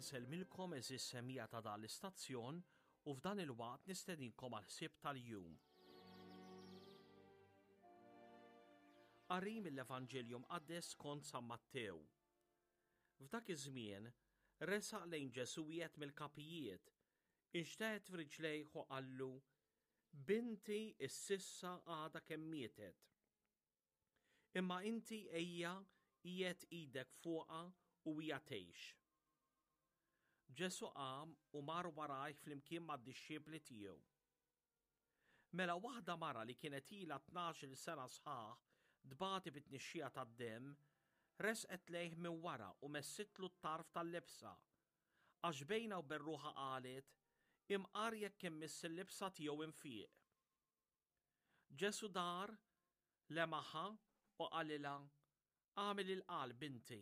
Insellmilkom għeżież semmiegħa ta' dan l-istazzjon u f'dan il-waqt nistedinkom għall-ħsieb tal-jum. Qari mill-Evanġelju Mqaddes skont San Mattew. F'dak iż-żmien resaq lejn Ġesù wieħed mill-kapijiet, inxteħet f'riġlejh u qallu, Binti ississa għadha kemm mietet. Imma inti ejja qiegħed idek fuqha u hija tgħix. Ġesù qam u mar warajh flimkien mad-dixxipli tiegħu. Mela waħda mara li kienet ilha 12-il sena sħaħ tbati bit-tnixxija tad-demm, resqet lejh minn wara u messitlu t-tarf tal-libsa, għax bejnha u bejn ruħha qalet, Imqar jekk immiss il-libsa tiegħu infieq. Ġesù dar, lemaħha u qalilha, Agħmel il-qalb, binti.